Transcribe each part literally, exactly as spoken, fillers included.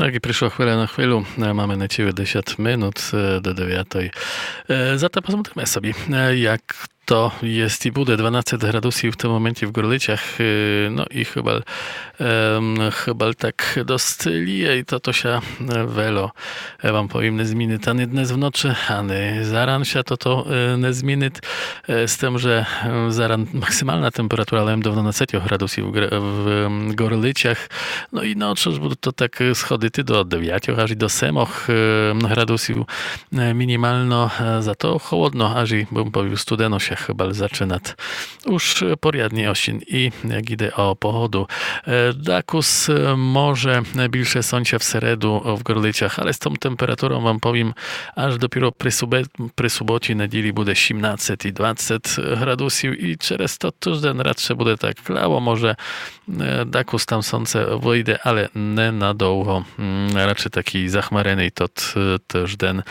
Так і пришла хвиля на хвилю. Е, маме нечиве десят минут, е, до девятой. Е, зато позмотриме собі, е, як то єст і буде. Дванадцет градусів в тым моменті в Горлицях, е, но і хыбаль, ем, хыбаль так дост ліє і тото ся, е, вельо, е, вам повім, не змінит ани днес в ночы, ани заран ся тото, е, не змінит. Е, з тым, же, е, заран максимална температура лем до дванадцетьох градусів в Гр-, в, ем, Горлицях. Но і ночы будут то так, е, сходити до девятьох аж і до семох, е, градусів, е, мінімално, е, зато холодно, аж і, бым повів, студено ся хыбаль зачынат. Уж порядный осін і як іде о погоду. Е, дакус, е, може більше сонця в середу в Горлицях, але з тым температуром вам повім, аж допіро при субе-, при суботі, неділі буде сімнадцет і двадцет градусів і через то тыжден радше буде так клаво, може, е, дакус там сонце выйде, але не надовго. М, радше такій захмареный тот, е, тыжден,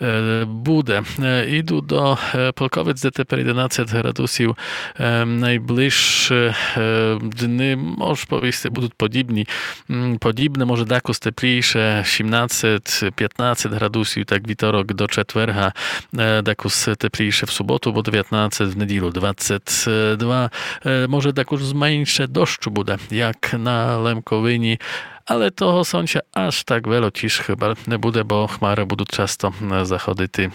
е, буде. Е, іду до, е, Полковиць, де тепер єденадцет градусів. Е, найближшы, е, дни, мож повісти, будут подібні. М, подібне, може дакус теплійше, сімнадцет, пятнадцет градусів, так вівторок до четверга, е, дакус теплійше в суботу, бо девятнадцет, в неділю двадцет два. Е, може дакус менше дощу буде, як на Лемковині, але того сонця аж так вельо тіж хыбаль не буде, бо хмары будут часто, е, заходити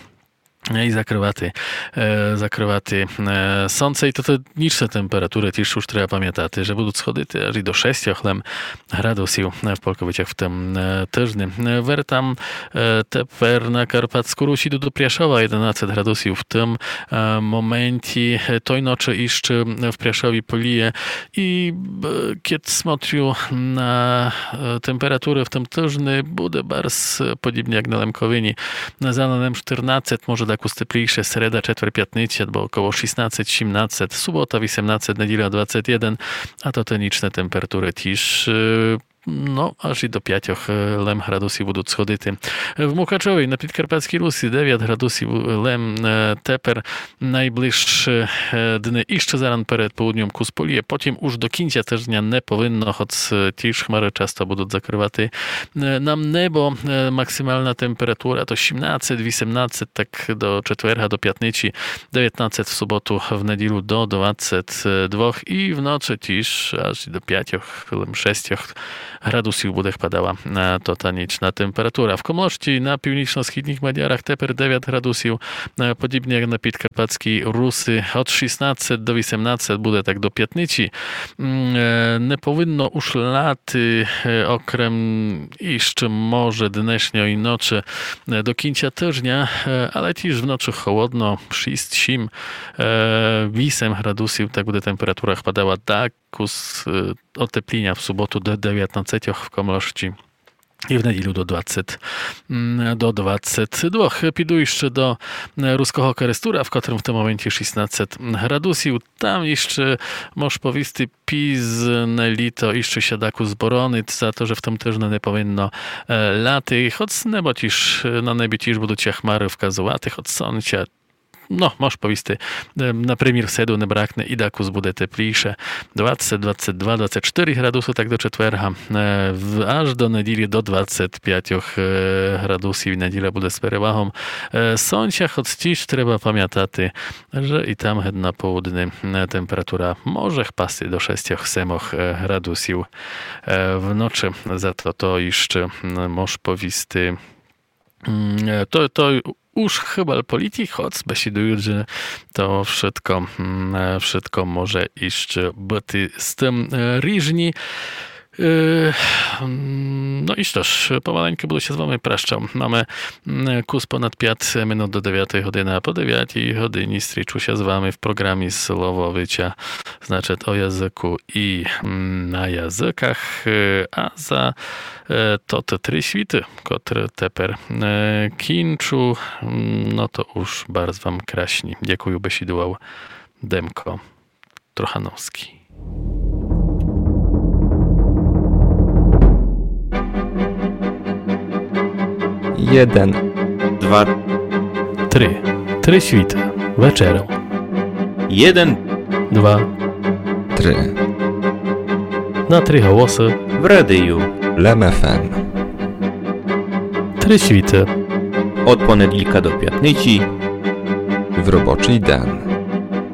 і закрывати, е, закрывати, е, сонце. І тото нічны температуры тіж уж треба памятати, же будут сходити аж і до шестьох лем градусів, е, в Полковицях в тым, е, тыжни. Е, вертам, е, тепер на Карпатску Русь, іду до Пряшова, єденадцет градусів в тым, е, моменті. Е, той ночы іщы в Пряшові поліє. І, е, кєд смотрю на, е, температуры в тым тыжни, буде барз, е, подібні як на Лемковині. Заран лем штырнадцет, може дакус теплійше, середа, четвер, пятниця, бо около шістнадцет, сімнадцет, субота вісемнадцет, неділя двадцет єден, а тото нічны температуры тіж, е, но, аж і до пятьох, е, лем градусів будут сходити. В Мукачові на Підкарпатскій Русі девят градусів лем, е, тепер. Найближшы, е, дни іщы заран перед полудньом кус поліє, потім уж до кінця тыжня не повинно, хоц, е, тіж хмары часто будут закрывати, е, нам небо. Е, максимална температура то сімнадцет, вісемнадцет, так до четверга, до пятниці, девятнадцет в суботу, в неділю до двадцет двох і в ночы тіж аж до пятьох, лем шестьох градусів буде хпадала, е, то та нічна температура. В Комлошці на північно-східніх Мадярах тепер девят градусів, е, подібні як на Підкарпатскій Руси, од шістнадцет до вісемнадцет буде так до пятниці. М, е, не повинно уж ляти, е, окрем іщы може днешньої ночы, е, до кінця тыжня, е, але тіж в ночы холодно, шість, сім, е, вісем градусів, так буде температура хпадала, так кус, е, отепліня в суботу до девятнадцетьох в Комлошці і в неділю до двадцет, м, до двадцет двох. Піду іщы до, е, Руского Керестура, в котрым в тым моменті шістнадцет градусів. Там іщы, мож повісти, пізне літо іщы ся дакус боронит за то, же в тым тыжни не повинно, е, ляти. Хоц небо тіж, на небі тіж будут ся хмары вказувати, хоц сонця но, мож повісти, е, на примір, в середу не бракне і дакус буде теплійше. Двадцет, двадцет два, двадцет штыри градусы, так до четверга. Е, в-, аж до неділі до двадцет пятьох, е, градусів. Неділя буде з перевагом, е, сонця, хоц тіж треба памятати, же і там гет на полудни, е, температура може хпасти до шестьох, семох, е, градусів, е, в ночы. Зато то іщы, м, мож повісти, М, е, то, то уж хыбаль політи, хоц бесідуют, же то вшытко, м, е, вшытко може іщы быти з тым, е, ріжні. Е, м, но і што ж, помаленьку буду ся з вами прощал. Маме, м, кус понад пят минут до девятої годины, а по девятій годині стрічу ся з вами в програмі Слово Выча, значыт, о языку і, м, на языках. Е, а за Е, то, то три світы, котры тепер, е, кінчу, м, но то уж барз вам красні. Дякую, бесідувал Демко Трохановскій. Єден. Два. Три. Три світы. Вечеря. Єден. Два. Три. На три голосы. В радію. Лем ФМ. Присвіты. Од понеділка до пятниці. В робочый ден.